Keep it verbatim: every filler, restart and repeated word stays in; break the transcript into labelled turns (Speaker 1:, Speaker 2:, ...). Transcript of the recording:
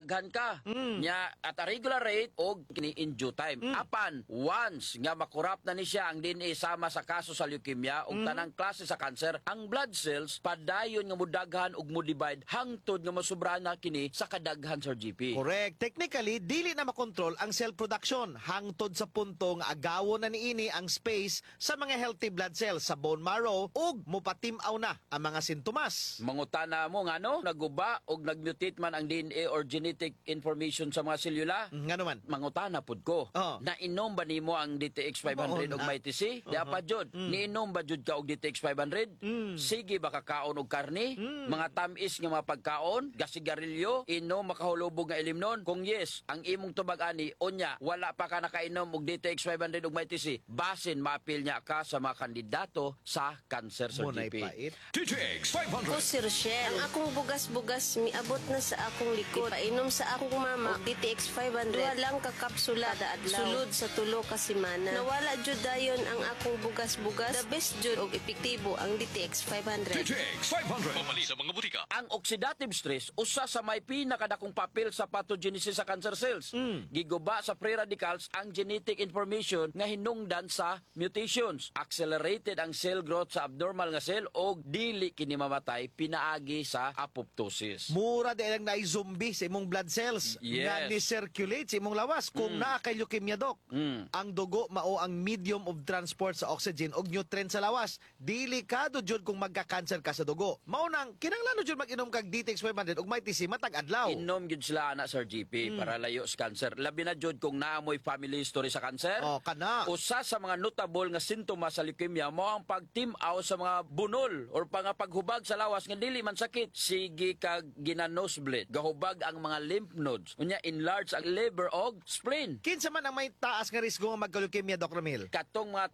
Speaker 1: Daghan ka. Nya at a regular rate og kini in due time. Apan once nga makurap na ni siya ang D N A sama sa kaso sa leukemia ug tanang klase sa cancer, ang blood cells padayon nga mudaghan ug mo-divide hangtod nga masubra na kini sa kadaghan, Sir G P.
Speaker 2: Correct. Technically, dili na makontrol ang cell production hangtod sa punto nga agawon na niini ang space sa mga healthy blood cells sa bone marrow ug mupatimaw na ang mga sintomas.
Speaker 1: Mangutana mo ngano naguba og nagmutate man ang D N A or genetic information sa mga selula?
Speaker 2: Mm, Ngano man?
Speaker 1: Mangutana pud ko.
Speaker 2: Oo.
Speaker 1: Nainom ba nimo ang D T X five hundred
Speaker 2: Oo
Speaker 1: og
Speaker 2: na.
Speaker 1: Mighty C? Di pa jud. Niinom ba jud ka og D T X five hundred? Sige ba kakaon og karne? Mga tamis nga mga pagkaon, gasigarilyo, inom makahulubog nga ilimnon? Kung yes, ang imong tubag ani, unya wala pa ka nakainom og D T X five hundred og Mighty C, basin maapil niya ka sa mga kandidato sa cancer sa
Speaker 2: Munay
Speaker 1: G P.
Speaker 2: pait.
Speaker 3: D T X five hundred.
Speaker 4: Ko si Rochelle. Ang akong bugas-bugas miabot na sa akong likod. Painom sa akong mama og D T X five hundred. Duha lang ka kapsula kada adlaw. Sulod sa tulo ka semana. Nawala jud dayon ang akong bugas-bugas. The best jud og epektibo ang D T X five hundred.
Speaker 3: D T X five hundred. Pamali sa mga butika.
Speaker 1: Ang oxidative stress usa sa may pinakadakong papel sa pathogenesis sa cancer cells. Giguba sa free radicals ang genetic information nga hinungdan sa mutations. Accelerated ang cell growth sa abnormal nga cell og dili kini mamatay pinaagi sa apoptosis.
Speaker 2: Mura di lang naay zombie sa imong blood cells
Speaker 1: Yes.
Speaker 2: nga ni-circulate sa imong lawas kung naa kay leukemia, dok.
Speaker 1: Mm.
Speaker 2: Ang dugo mao ang medium of transport sa oxygen ug nutrient sa lawas. Delikado jud kung magka-cancer ka sa dugo. Mao nang kinahanglan jud mag-inom kag D T X five hundred ug Mighty C matag adlaw.
Speaker 1: Inom gyud sila ana, Sir G P, para layo sa cancer. Labi na jud kung naa moy family history sa cancer.
Speaker 2: Oh, kana.
Speaker 1: Usa sa mga notable nga sintomas sa leukemia mao ang pagtimaw sa mga bunol or pang paghubag sa lawas nga dili man sakit. Sige kag gina-nosebleed. Gahubag ang mga lymph nodes. Unya enlarge ang liver og spleen.
Speaker 2: Kinsa man ang may taas nga risgo nga magka-leukemia, Doc Ramil?
Speaker 1: Katong mga